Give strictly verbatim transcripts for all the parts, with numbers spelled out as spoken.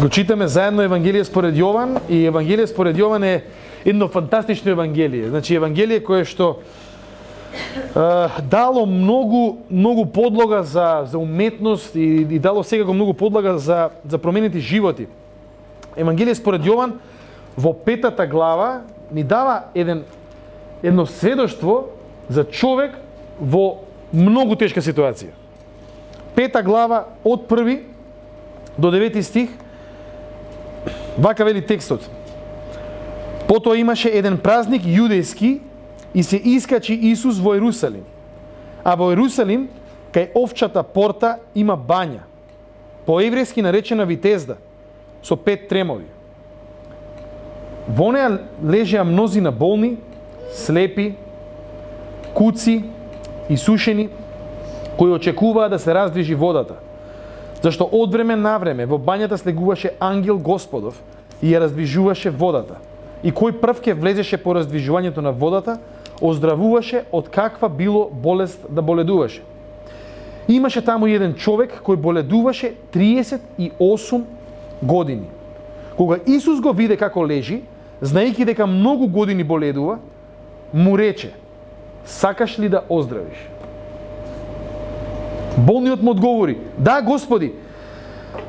Го читаме заедно Евангелие според Јован, и Евангелие според Јован е едно фантастично Евангелие. Значи Евангелие кое што е, дало многу многу подлога за за уметност и, и дало секако многу подлога за за променети животи. Евангелие според Јован во петата глава ни дава еден едно сведоштво за човек во многу тешка ситуација. Пета глава од први до девети стих, вака вели текстот. Потоа имаше еден празник јудејски и се искачи Исус во Ерусалим. А во Ерусалим, кај овчата порта, има бања, по еврејски наречена Витезда, со пет тремови. Во неа лежеа мнозина болни, слепи, куци и сушени, кои очекуваа да се раздвижи водата. Зашто од време на време во бањата слегуваше ангел Господов и ја раздвижуваше водата. И кој прв ке влезеше по раздвижувањето на водата, оздравуваше од каква било болест да боледуваше. Имаше таму еден човек кој боледуваше триесет и осум години. Кога Исус го виде како лежи, знаејќи дека многу години боледува, му рече: сакаш ли да оздравиш? Болниот му одговори: да, Господи,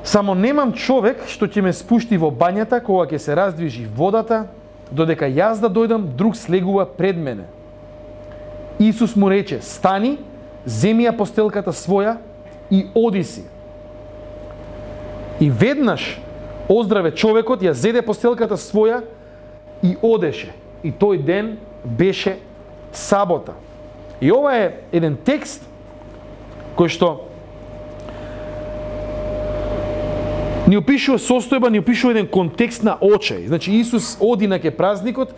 само немам човек што ќе ме спушти во бањата кога ќе се раздвижи водата, додека јас да дојдам, друг слегува пред мене. Исус му рече: стани, земи ја постелката своја и оди си. И веднаш оздраве човекот, ја зеде постелката своја и одеше. И тој ден беше сабота. И ова е еден текст кој што ни опишува состојба, ни опишува еден контекст на очај. Значи Исус оди на ке празникот,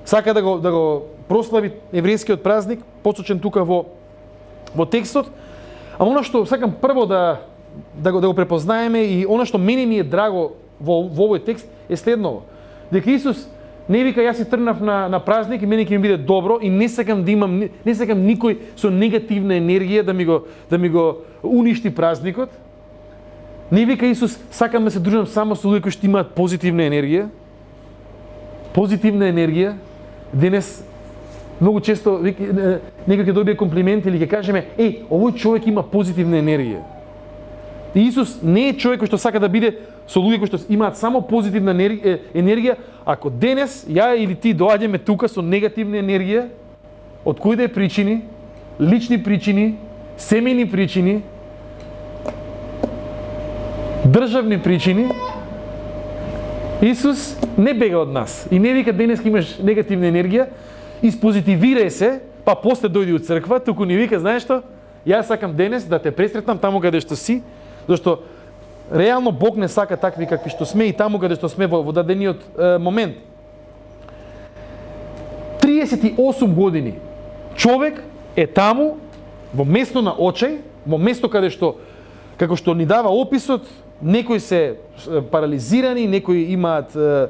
сака да го да го прослави еврејскиот празник, посочен тука во во текстот. А она што сакам прво да да го да го препознаеме и она што мене ми е драго во во овој текст е следново. Дека Исус не вика јас си тргнав на на празник и мене ќе ми биде добро и не сакам да имам не сакам никој со негативна енергија да ми го да ми го уништи празникот. Не вика Исус сакам да се дружам само со луѓе кои што имаат позитивна енергија. Позитивна енергија. Денес многу често некој ќе добие комплимент или ќе кажеме: еј, овој човек има позитивна енергија. И Исус не е човек кој што сака да биде со луѓе кои што имаат само позитивна енергија. Ако денес ја или ти доаѓаме тука со негативна енергија, од кои да е причини, лични причини, семејни причини, државни причини, Исус не бега од нас и не вика денес ќе имаш негативна енергија, испозитивирај се, па после дојди од црква, туку ни вика: знаеш што, јас сакам денес да те пресретнам таму каде што си, зашто реално Бог не сака такви какви што сме и таму каде што сме во, во дадениот е, момент. триесет и осум години човек е таму во место на очај, во место каде што, како што ни дава описот, некои се парализирани, некои имаат е,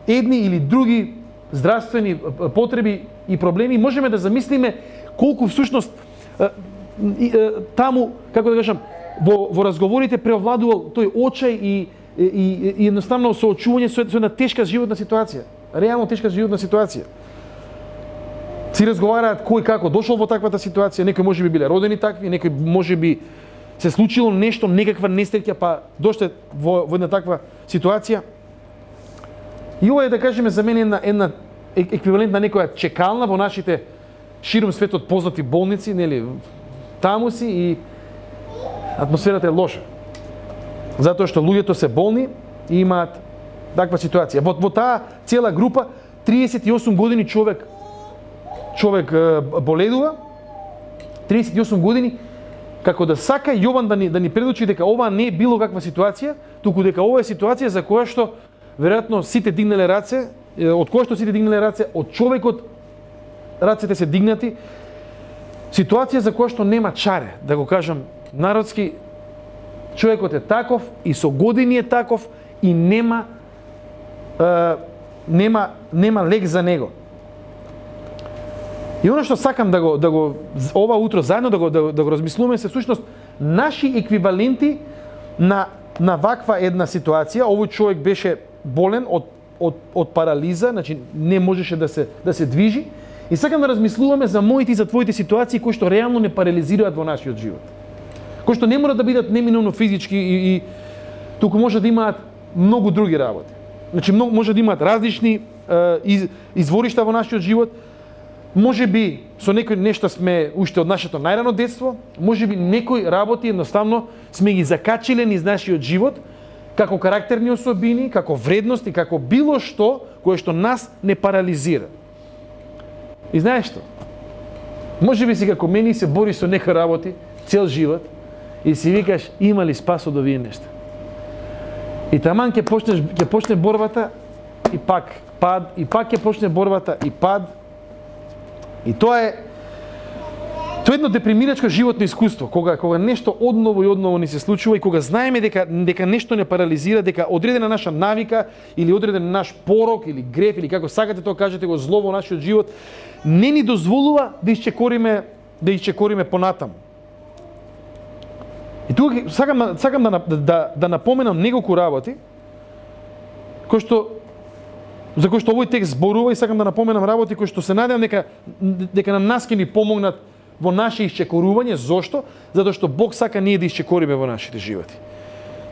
едни или други здравствени потреби и проблеми. Можеме да замислиме колку всушност е, е, таму, како да кажам, во, во разговорите преовладувал тој очај и, и, и, и едноставно соочување со, со една тешка животна ситуација. Реално тешка животна ситуација. Си разговараат кој како дошол во таквата ситуација, некои можеби биле родени такви, некои можеби се случило нешто, некаква несреќа, па дошле во, во една таква ситуација. И ова е, да кажеме, за мене една, една еквивалент на некоја чекална во нашите широм светот познати болници, нели, таму си и атмосферата е лоша. Затоа што луѓето се болни и имаат таква ситуација. Во, во таа цела група триесет и осум години човек човек е, боледува, триесет и осум години, како да сака Јован да ни да ни предучи дека ова не е било каква ситуација, туку дека ова е ситуација за која што веројатно сите дигнале раце, од која што сите дигнале раце, од човекот рацете се дигнати. Ситуација за која што нема чаре, да го кажам народски, човекот е таков и со години е таков и нема е, нема нема лек за него. И оно што сакам да го да го ова утро заедно да го да, да го размислуваме се всушност наши еквиваленти на на ваква една ситуација, овој човек беше болен од од од парализа, значи не можеше да се да се движи. И сакам да размислуваме за моите и за твоите ситуации кои што реално не парализираат во нашиот живот. Кои што не мора да бидат неминовно физички и, и туку може да имаат многу други работи. Значи многу, може да имаат различни е, из, изворишта во нашиот живот. Може би со некои нешта сме уште од нашето најрано детство, може би некои работи едноставно сме ги закачиле низ нашиот живот како карактерни особини, како вредности, како било што кое што нас не парализира. И знаеш што? Може би си како мене се бориш со некои работи цел живот и си викаш има ли спас од овие нешта. И таман ќе почнеш ќе почне борбата и пак пад и пак ќе почне борбата и пад. И тоа е тоа е едно депримирачко животно искуство, кога кога нешто одново и одново ни се случува и кога знаеме дека дека нешто не парализира, дека одредена наша навика или одреден наш порок или греф или како сакате тоа кажете го зло во нашиот живот не ни дозволува да исчекориме да исчекориме понатаму. И тука сакам сакам да да да напоменам неколку работи кои што за кои што овој текст зборува и сакам да напоменам работи кои што се надевам дека дека на нас ќе ни помогнат во наше исчекорување. Зошто? Затоа што Бог сака ние да исчекориме во нашите животи.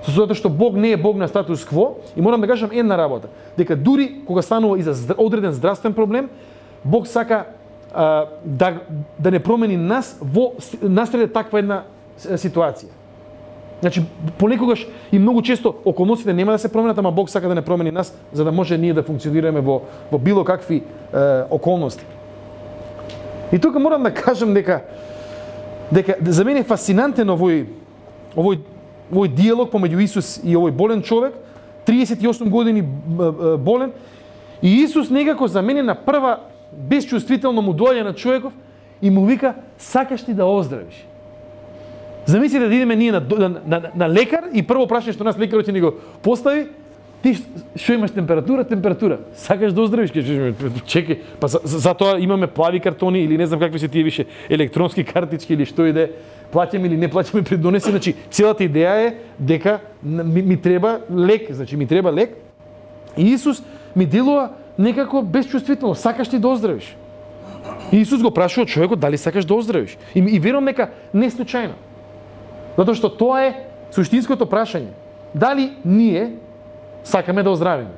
Затоа што Бог не е Бог на статус кво и морам да кажам една работа, дека дури кога станува и за одреден здравствен проблем, Бог сака а, да да не промени нас во насреде таква една ситуација. Значи, понекогаш и многу често околностите нема да се променат, ама Бог сака да не промени нас, за да може ние да функционираме во, во било какви е, околности. И тука морам да кажам дека дека за мене е фасцинантен овој овој овој диалог помеѓу Исус и овој болен човек, триесет и осум години болен, и Исус некако за мене на прва безчувствително му доаѓа на човеков и му вика сакаш ли да оздравиш? Замислите да идеме ние на, на, на, на лекар и прво прашање што нас лекарот ќе ни го постави, ти што имаш температура, температура. Сакаш да оздравиш? Чекај, па за, за тоа имаме плави картони или не знам какви се тие више електронски картички или што и да е, плаќаме или не плаќаме пред донесе. Значи целата идеја е дека ми, ми треба лек, значи ми треба лек. И Исус ми делува некако безчувствително, сакаш ли да оздравиш? И Исус го прашува човекот дали сакаш да оздравиш. И, и верувам дека не случајно. Затоа што тоа е суштинското прашање. Дали ние сакаме да оздравиме?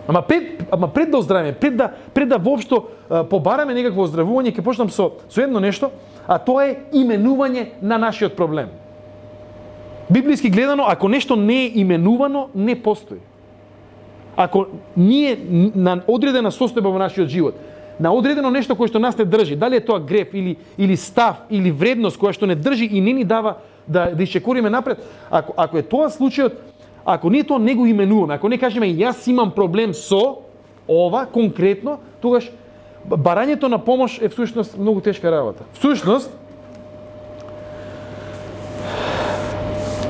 Ама пред, ама пред да оздравиме, пред да пред да воопшто побараме некакво оздравување, ќе почнам со со едно нешто, а тоа е именување на нашиот проблем. Библиски гледано, ако нешто не е именувано, не постои. Ако ние на одредена состојба во нашиот живот, на одредено нешто кое што нас не држи, дали е тоа греф или или став или вредност која што не држи и не ни дава да да исчекориме напред, ако ако е тоа случајот, ако ние тоа не го именуваме, ако не кажеме јас имам проблем со ова конкретно, тогаш барањето на помош е всушност многу тешка работа. Всушност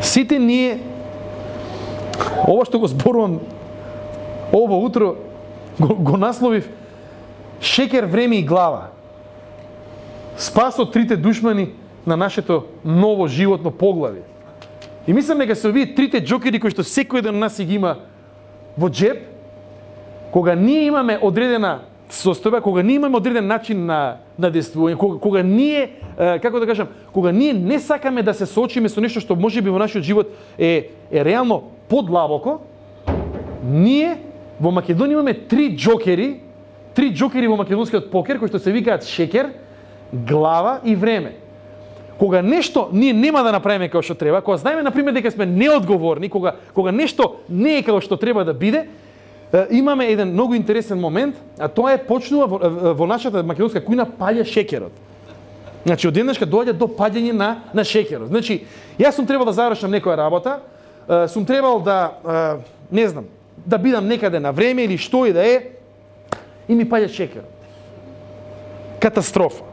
сите ние ова што го зборувам ова утро го, го насловив Шекер, време и глава. Спас од трите душмани на нашето ново животно поглавје. И мислам дека се овие трите џокери кои што секој еден од нас ги има во джеб, кога ние имаме одредена состојба, кога ние имаме одреден начин на на действување, кога, кога ние, како да кажам, кога ние не сакаме да се соочиме со нешто што можеби во нашиот живот е е реално подлабоко, ние во Македонија имаме три џокери, три џокери во македонскиот покер кои што се викаат шекер, глава и време. Кога нешто ние нема да направиме како што треба, кога знаеме на пример дека сме неодговорни, кога кога нешто не е како што треба да биде, имаме еден многу интересен момент, а тоа е почнува во, во нашата македонска кујна паѓа шекерот. Значи одеднашка доаѓа до паѓање на на шекерот. Значи јас сум требал да завршам некоја работа, сум требал да не знам, да бидам некаде на време или што и да е, и ми паѓа шекерот. Катастрофа.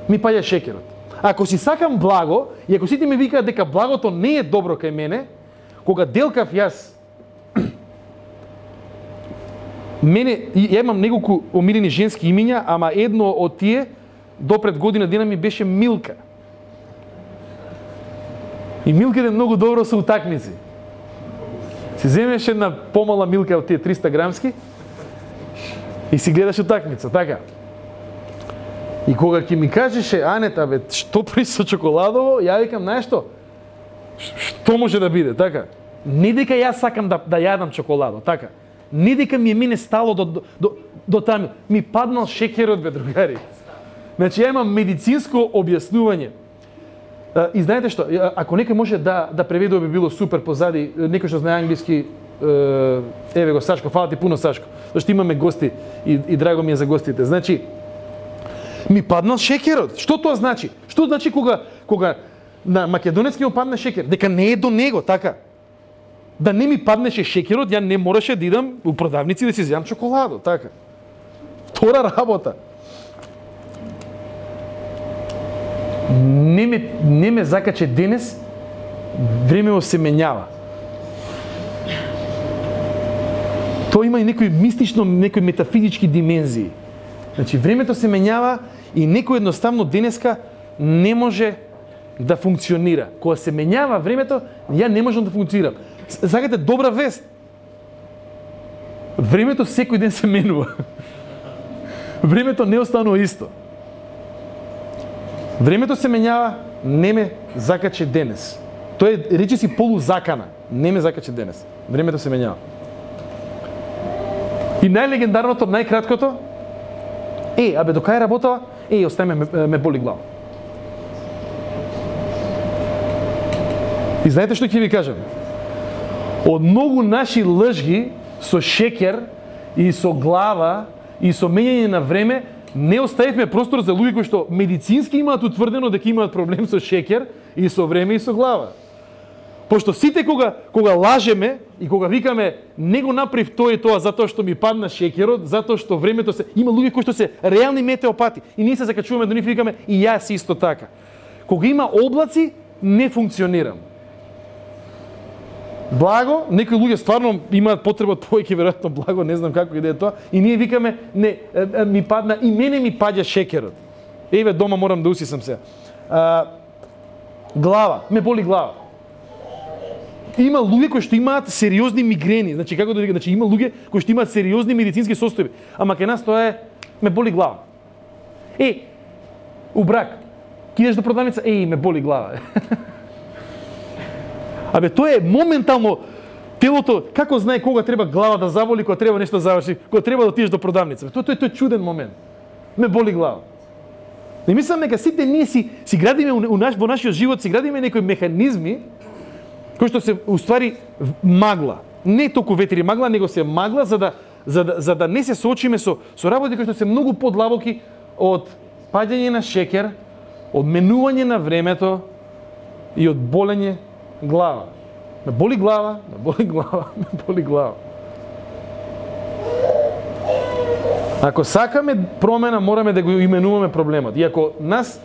Ми паѓа шекерот. Ако си сакам благо, и ако сите ми викаат дека благото не е добро кај мене, кога делкав јас, мене, ја имам неколку омилени женски имиња, ама едно од тие, до пред година дена ми беше Милка. И Милките многу добро се утакмици. Си земеш една помала Милка од тие триста грамски и си гледаш утакмица, така. И кога ќе ми кажеше Анета, бе, што при со чоколадово, ја викам, знаеш што? Што може да биде, така? Не дека јас сакам да, да јадам чоколадо, така? Не дека ми е мене стало до, до, до, до таму. Ми паднал шекерот, бе, другари. Значи, ја имам медицинско објаснување. И знаете што, ако некој може да, да преведе, би било супер позади, некој што знае англиски, еве го Сашко, фала ти пуно Сашко, зашто имаме гости и, и драго ми е за гостите. Значи, ми паднал шекерот. Што тоа значи? Што значи кога, кога на македонецки му падне шекер? Дека не е до него, така? Да не ми паднеше шекерот, ја не мораше да идам у продавници да си зјам чоколадо, така? Втора работа. Не ме, не ме закаче денес, времево се менјава. Тоа има и некои мистично, некои метафизички димензии. Значи, времето се менјава и некој едноставно денеска не може да функционира. Кога се менјава времето, ја не можам да функционирам. Сакате добра вест? Времето секој ден се менува. Времето не останува исто. Времето се менјава, не ме закаче денес. Тоа е речи си полузакана. Не ме закаче денес. Времето се менјава. И најлегендарното, најкраткото, е, абе, до кај работава? Е, остави ме, ме боли глава. И знаете што ќе ви кажам? Од многу наши лжги со шекер и со глава и со менјање на време, не оставивме простор за луѓе кои што медицински имаат утврдено дека имаат проблем со шекер и со време и со глава. Пошто сите кога кога лажеме и кога викаме не го направив тоа и тоа затоа што ми падна шекерот, затоа што времето се има луѓе кои што се реални метеопати и ние се закачуваме до нив и викаме и јас исто така. Кога има облаци не функционирам. Благо, некои луѓе стварно имаат потреба од повеќе веројатно благо, не знам како и да е тоа, и ние викаме не ми падна и мене ми паѓа шекерот. Еве дома морам да усисам се. А, глава, ме боли глава. Има луѓе кои што имаат сериозни мигрени, значи како да викам, значи има луѓе кои што имаат сериозни медицински состојби, ама кај нас тоа е ме боли глава. Е, у брак, кидеш до продавница, еј, ме боли глава. Абе, тоа е моментално телото, како знае кога треба глава да заболи, кога треба нешто заврши, кога треба да отидеш до продавница. Тоа тоа е чуден момент. Ме боли глава. Не мислам дека сите ние си си градиме у наш во нашиот живот си градиме некои механизми кои што се уствари магла. Не толку ветри магла, него се магла за да за да, за да не се соочиме со со работи кои што се многу подлабоки од паѓање на шекер, од менување на времето и од болење глава. Ме боли глава, ме боли глава, ме боли глава. Ако сакаме промена, мораме да го именуваме проблемот. И ако нас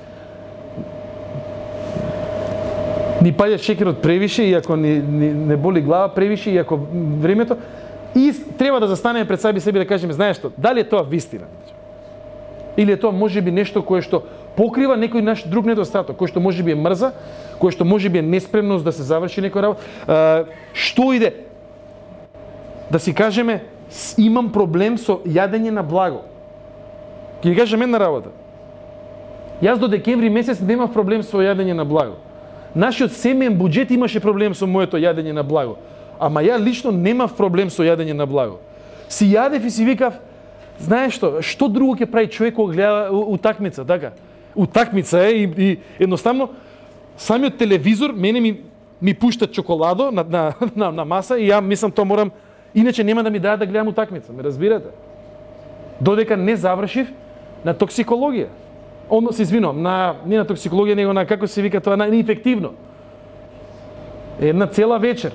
ни паѓа шекерот превише, и ако ни, ни не боли глава превише, и ако времето, и треба да застанеме пред себе себе да кажеме, знаеш што, дали е тоа вистина? Или е тоа можеби нешто кое што покрива некој наш друг недостаток, кој што можеби е мрза, кој што можеби е неспремност да се заврши некој работа. Што иде? Да си кажеме, имам проблем со јадење на благо. Ќе ви кажем една работа. Јас до декември месец немав проблем со јадење на благо. Нашиот семеен буџет имаше проблем со моето јадење на благо. Ама ја лично немав проблем со јадење на благо. Си јадев и си викав, знаеш што, што друго ќе прави човек кога гледа утакмица, така? Утакмица е и, и едноставно самиот телевизор мене ми ми пушта чоколадо на на на, на маса и ја мислам тоа морам, иначе нема да ми дадат да гледам утакмица, ме разбирате? Додека не завршив на токсикологија. Одно се извинувам, на не на токсикологија, него на како се вика тоа, на инфективно. Една цела вечер.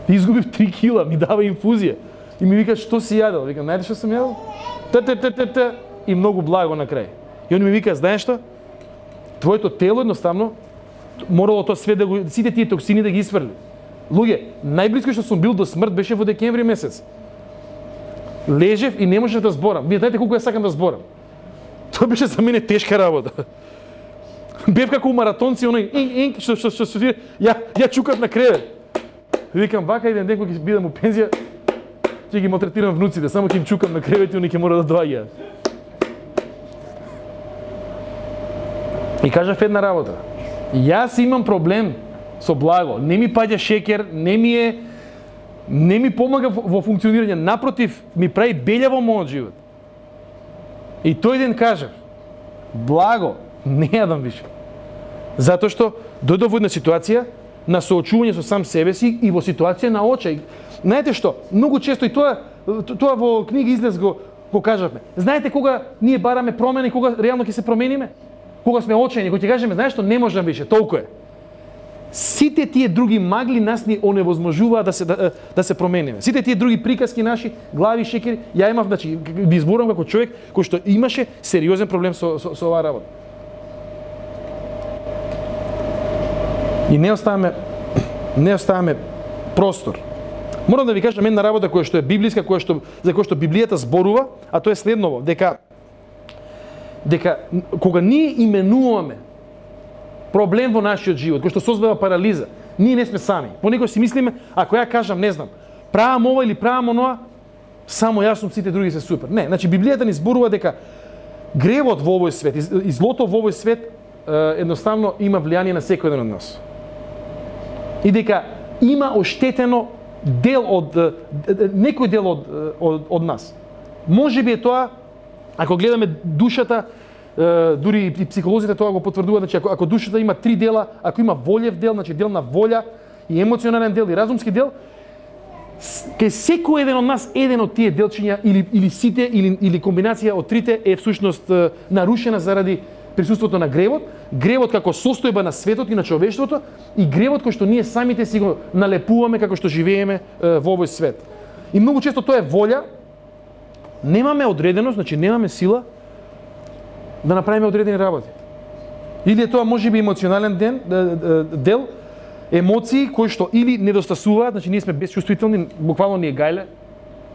Изгубив три кила, ми дава инфузија. И ми вика, што си јадел? Викам, најде што сум јадел? Т, т, т, т, т, и многу благо на крај. И он ми вика, знаеш што? Твоето тело едноставно морало тоа све да го, сите тие токсини да ги исфрли. Луѓе, најблиско што сум бил до смрт беше во декември месец. Лежев и не можев да зборам. Вие знаете колку ја сакам да зборам. Тоа беше за мене тешка работа. Бев како у маратонци, оној ин ин што што што што ја ја чукав на кревет. Викам вака еден ден кога ќе бидам у пензија, ќе ги малтретирам внуците, само ќе им чукам на кревет и они ќе мора да доаѓаат. И кажав една работа. Јас имам проблем со благо. Не ми паѓа шекер, не ми е не ми помага во функционирање, напротив, ми прави белја во мојот живот. И тој ден кажав, благо, не јадам више. Затоа што дојдов во една ситуација на соочување со сам себе си и во ситуација на очај. Знаете што? Многу често и тоа тоа во книга излез го го кажавме. Знаете кога ние бараме промена и кога реално ќе се промениме? Кога сме очајни, кога ќе кажеме, знаеш што, не можам више, толку е. Сите тие други магли нас ни оневозможуваат да се да, да се промениме. Сите тие други приказки наши, глави, шекери, ја имав, значи, би изборувам како човек кој што имаше сериозен проблем со со, со оваа работа. И не оставаме не оставаме простор. Морам да ви кажам една работа која што е библиска, која што за која што Библијата зборува, а тоа е следново, дека дека кога ние именуваме проблем во нашиот живот, кој што создава парализа, ние не сме сами. Понекогаш си мислиме, ако ја кажам, не знам, правам ова или правам оноа, само јас сум, сите други се супер. Не, значи Библијата ни зборува дека гревот во овој свет и злото во овој свет едноставно има влијание на секој еден од нас. И дека има оштетено дел од некој дел од од, од нас. Можеби е тоа, ако гледаме душата, дури и психолозите тоа го потврдуваат, значи ако, ако душата има три дела, ако има волев дел, значи дел на волја и емоционален дел и разумски дел, кај секој еден од нас еден од тие делчиња или или сите или или комбинација од трите е всушност нарушена заради присуството на гревот, гревот како состојба на светот и на човештвото и гревот кој што ние самите си го налепуваме како што живееме во овој свет. И многу често тоа е волја, немаме одреденост, значи немаме сила да направиме одредени работи. Или е тоа можеби емоционален ден, дел, емоции кои што или недостасуваат, значи ние сме безчувствителни, буквално ни е гајле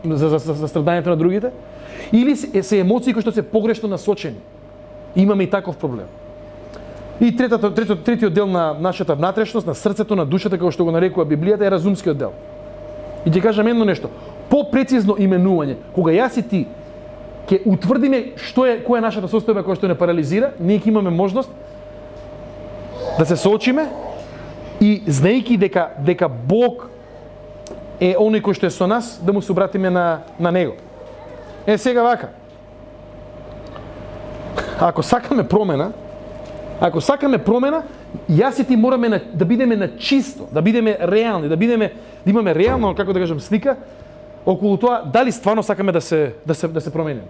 за, за, за, за страдањето на другите, или се, се емоции кои што се погрешно насочени. Имаме и таков проблем. И третото, трето, третиот дел на нашата внатрешност, на срцето, на душата, како што го нарекува Библијата, е разумскиот дел. И ќе кажам едно нешто, по-прецизно именување, кога јас и ти ќе утврдиме што е која е нашата состојба која што не парализира, ние ќе имаме можност да се соочиме и знаејќи дека дека Бог е оној кој што е со нас, да му се обратиме на на него. Е сега вака. Ако сакаме промена, ако сакаме промена, јас и ти мораме на, да бидеме на чисто, да бидеме реални, да бидеме да имаме реално, како да кажам, слика околу тоа дали стварно сакаме да се да се да се промениме.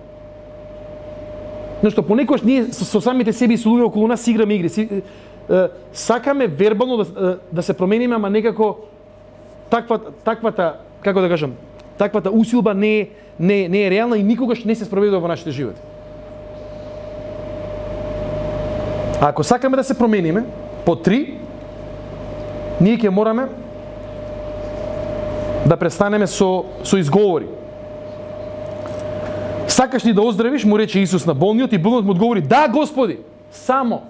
Нешто понекогаш ние со, со самите себе и со луѓе околу нас играме игри. Си, е, сакаме вербално да да се промениме, ама некако таква таквата, како да кажам, таквата усилба не е не не е реална и никогаш не се спроведува во нашите животи. А ако сакаме да се промениме, по три, ние ќе мораме да престанеме со со изговори. Сакаш ли да оздравиш, му рече Исус на болниот и болниот му одговори: "Да, Господи, само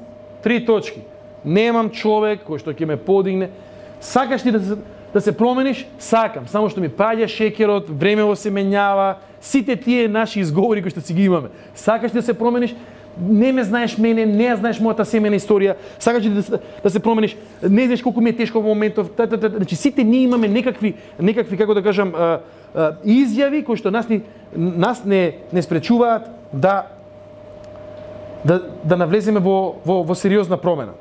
три точки. Немам човек кој што ќе ме подигне. Сакаш ли да се, да се промениш? Сакам, само што ми паѓа шекерот, времево се менјава, сите тие наши изговори кои што си ги имаме. Сакаш ли да се промениш? Не ме знаеш мене, не ја знаеш мојата семена историја, сакаш ли да, да се промениш, не знаеш колку ми е тешко во моментов, та, та, та, значи сите ние имаме некакви, некакви како да кажам, а, а, изјави кои што нас, ни, нас не, не спречуваат да, да, да навлеземе во, во, во сериозна промена.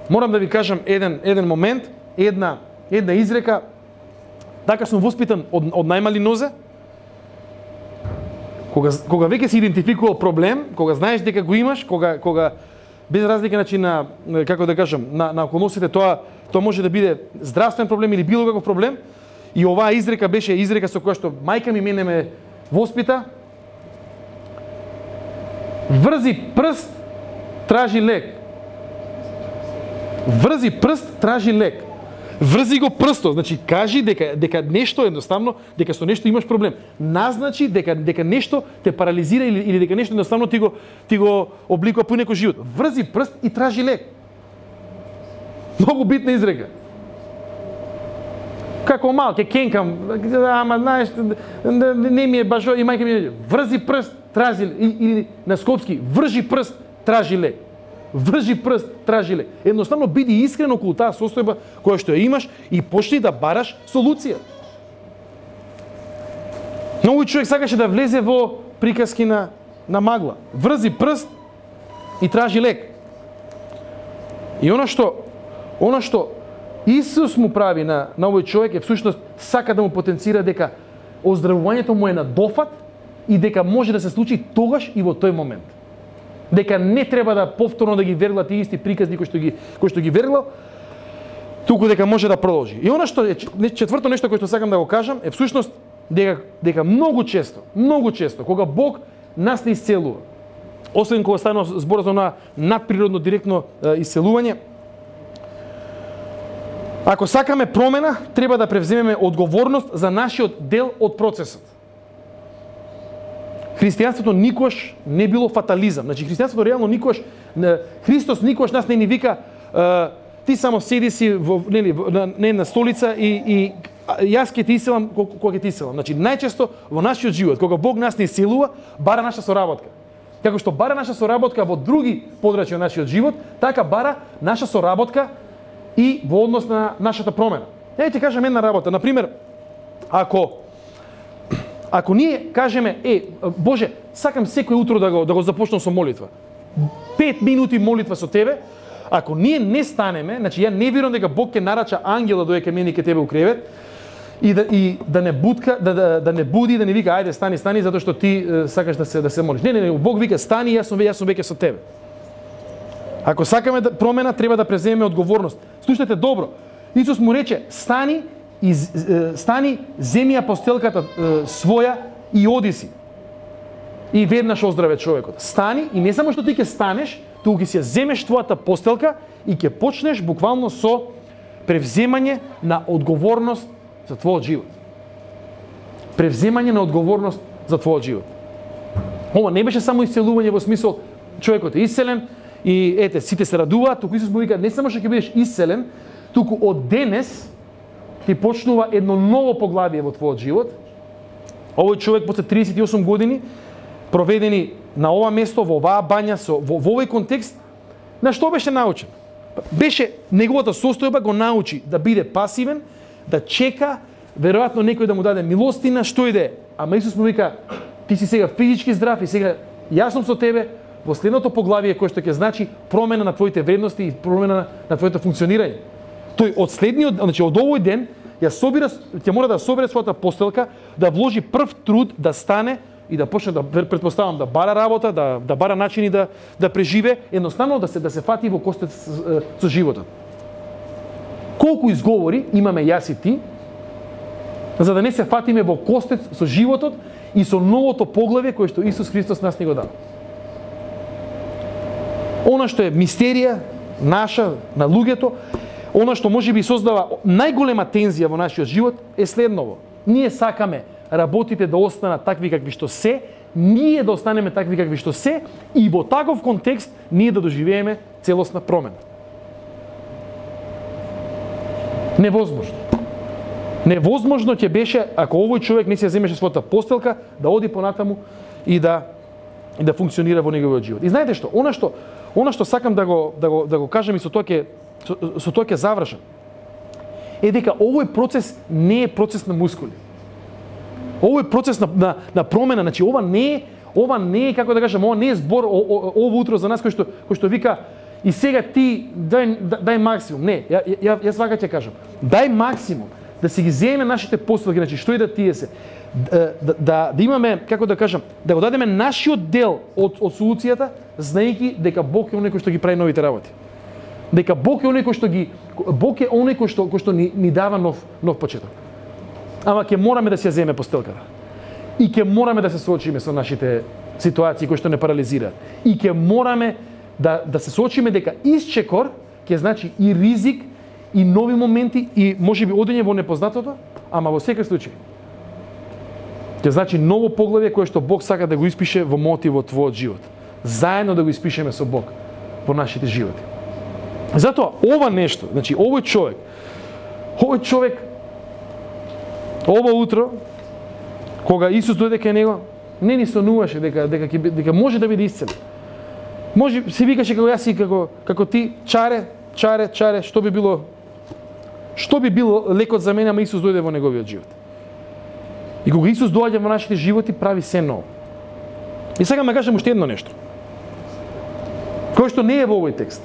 Морам да ви кажам еден, еден момент, една, една изрека, така сум воспитан од, од најмали нозе. Кога, кога веќе си идентификувал проблем, кога знаеш дека го имаш, кога, кога без разлика значи на, како да кажам, на, на околностите, тоа, тоа може да биде здравствен проблем или било каков проблем, и оваа изрека беше изрека со која што мајка ми мене ме воспита: врзи прст, тражи лек. Врзи прст, тражи лек. Врзи го прстот, значи кажи дека дека нешто едноставно, дека со нешто имаш проблем. Назначи дека дека нешто те парализира или, или дека нешто едноставно ти го ти го обликува по некој живот. Врзи прст и тражи лек. Многу битна изрека. Како мал, ке кенкам, ама знаеш, не ми е баш и мајка ми е, врзи прст, тражи лек. Или на скопски, вржи прст, тражи лек. Вржи прст, тражи лек. Едноставно биди искрен околу таа состојба која што ја имаш и почни да бараш солуција. Многу човек сакаше да влезе во приказки на на магла. Врзи прст и тражи лек. И она што она што Исус му прави на, на овој човек е всушност сака да му потенцира дека оздравувањето му е на дофат и дека може да се случи тогаш и во тој момент. Дека не треба да повторно да ги вергла тие исти приказни кои што ги кои што ги вергла, туку дека може да продолжи. И она што е четврто нешто кое што сакам да го кажам е всушност дека дека многу често, многу често кога Бог нас не исцелува, освен кога станува збор за на надприродно директно е, исцелување, ако сакаме промена, треба да превземеме одговорност за нашиот дел од процесот. Христијанството никош не било фатализам. Значи христијанството реално никош Христос никош нас не ни вика ти само седи си во нели на една столица и и јас ќе ти исцелам кога ќе ти исцелам. Значи најчесто во нашиот живот кога Бог нас не исцелува, бара наша соработка. Како што бара наша соработка во други подрачја од нашиот живот, така бара наша соработка и во однос на нашата промена. Ја ќе кажам една работа, на пример, ако ако ние кажеме, е, Боже, сакам секој утро да го да го започнам со молитва. Пет минути молитва со тебе, ако ние не станеме, значи ја не верувам дека Бог ќе нарача ангел да дојде кај мене и кај тебе у кревет и да и да не будка, да да да не буди, да не вика ајде стани, стани затоа што ти е, сакаш да се да се молиш. Не, не, не, Бог вика стани, јас сум јас сум веќе со тебе. Ако сакаме да промена, треба да преземеме одговорност. Слушнете добро. Исус му рече: "Стани и стани, земи ја постелката своја и оди си." И веднаш оздраве човекот. Стани и не само што ти ќе станеш, туку ќе си ја земеш твојата постелка и ќе почнеш буквално со превземање на одговорност за твојот живот. Превземање на одговорност за твојот живот. Ова не беше само исцелување во смисол човекот е исцелен и ете сите се радуваат, туку Исус му вика не само што ќе бидеш исцелен, туку од денес ти почнува едно ново поглавие во твојот живот. Овој човек после триесет и осум години проведени на ова место, во оваа бања, со, во, во овој контекст, на што беше научен? Беше, неговата состојба го научи да биде пасивен, да чека, веројатно некој да му даде милостина, што и да е. Ама Исус му вика, ти си сега физички здрав и сега јас сум со тебе, во следното поглавие кој што ќе значи промена на твоите вредности и промена на, на твоето функционирање. Тој од следниот, значи од овој ден, ја собира, ќе мора да собере својата постелка, да вложи прв труд да стане и да почне да претпоставам да бара работа, да да бара начини да да преживе, едноставно да се да се фати во костет со, со животот. Колку изговори имаме јас и ти, за да не се фатиме во костет со животот и со новото поглавие кое што Исус Христос нас ни го дава. Она што е мистерија наша на луѓето, она што можеби создава најголема тензија во нашиот живот е следново. Ние сакаме работите да останат такви какви што се, ние да останеме такви какви што се и во таков контекст ние да доживееме целосна промена. Невозможно. Невозможно ќе беше ако овој човек не се земеше својата постелка да оди понатаму и да и да функционира во неговиот живот. И знаете што? Она што она што сакам да го да го да го кажам и со тоа ќе со, со тоа ќе завршам. Е дека овој процес не е процес на мускули. Овој процес на, на, на промена, значи ова не е, ова не е како да кажам, ова не е збор о, о, ово утро за нас кој што кој што вика и сега ти дај дај максимум. Не, ја, ја јас вака ќе кажам. Дај максимум да си ги земеме нашите постелки, значи што и да тие се. Да, да, да имаме, како да кажам, да го дадеме нашиот дел од од солуцијата, знаејќи дека Бог е оној кој што ги прави новите работи. Дека Бог е оној кој што ги Бог е оној кој што кој што ни, ни дава нов нов почеток. Ама ќе мораме да си ја земеме постелката. И ќе мораме да се соочиме со нашите ситуации кои што не парализираат. И ќе мораме да да се соочиме дека исчекор ќе значи и ризик и нови моменти и можеби одење во непознатото, ама во секој случај ќе значи ново поглавје кое што Бог сака да го испише во мојот и во твојот живот. Заедно да го испишеме со Бог во нашите животи. Затоа ова нешто, значи овој човек, овој човек ова утро кога Исус дојде кај него, не ни сонуваше дека дека дека, дека може да биде исцелен. Може се викаше како јас и како како ти, чаре, чаре, чаре, што би било што би било лекот за мене, ама Исус дојде во неговиот живот. И кога Исус доаѓа во нашите животи, прави се ново. И сега ме кажам уште едно нешто. Кој што не е во овој текст.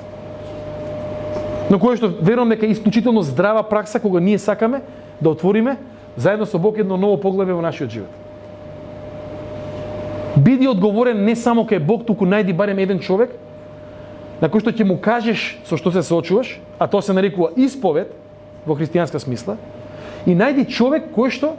Но кој што верувам дека е исклучително здрава пракса кога ние сакаме да отвориме заедно со Бог едно ново поглавје во нашиот живот. Биди одговорен не само кај Бог, туку најди барем еден човек на кој што ќе му кажеш со што се соочуваш, а тоа се нарекува исповед во христијанска смисла, и најди човек кој што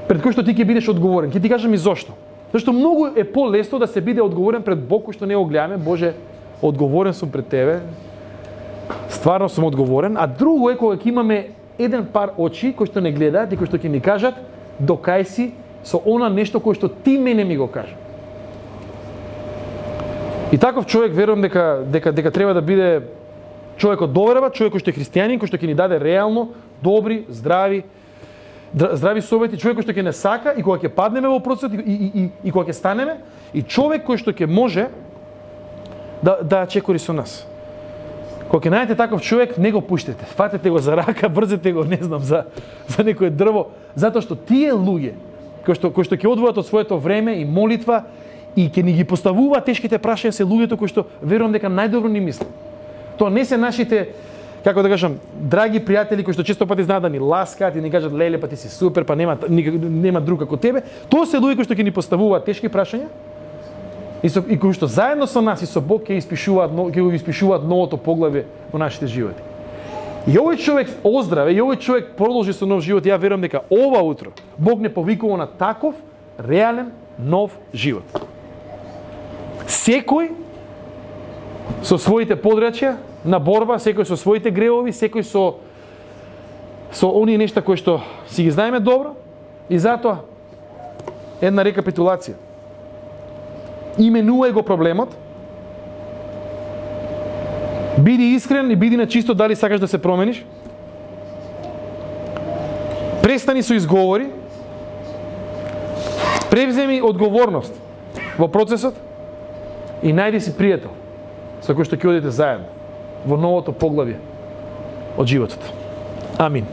пред кој што ти ќе бидеш одговорен. Ќе ти кажам и зошто. Зашто многу е полесно да се биде одговорен пред Бог кој што не го гледаме, Боже, одговорен сум пред тебе. Стварно сум одговорен, а друго е кога ќе имаме еден пар очи кои што не гледаат и кои што ќе ни кажат докај си со она нешто кое што ти мене ми го кажа. И таков човек верувам дека дека дека треба да биде човек од доверба, човек кој што е христијанин, кој што ќе ни даде реално добри, здрави здрави совети, човек кој што ќе не сака и кога ќе паднеме во процесот и и и, и кога ќе станеме, и човек кој што ќе може да да чекори со нас. Кога ќе најдете таков човек, не го пуштете. Фатете го за рака, брзете го, не знам, за за некое дрво, затоа што тие луѓе кои што кои што ќе одвојат од своето време и молитва и ќе ни ги поставуваат тешките прашања, се луѓето кои што верувам дека најдобро ни мислат. Тоа не се нашите, како да кажам, драги пријатели кои што често пати знаат да ни ласкаат и ни кажат леле, па ти си супер, па нема нема друг како тебе. Тоа се луѓе кои што ќе ни поставуваат тешки прашања и со и кои што заедно со нас и со Бог ќе испишуваат ќе го испишуваат новото поглавје во нашите животи. И овој човек оздраве, и овој човек продолжи со нов живот. Ја верувам дека ова утро Бог не повикува на таков реален нов живот. Секој со своите подрачја на борба, секој со своите гревови, секој со со оние нешта кои што си ги знаеме добро, и затоа една рекапитулација. Именувај го проблемот, биди искрен и биди на чисто дали сакаш да се промениш. Престани со изговори. Превземи одговорност во процесот и најди си пријател со кој што ќе одите заедно во новото поглавје од животот. Амин.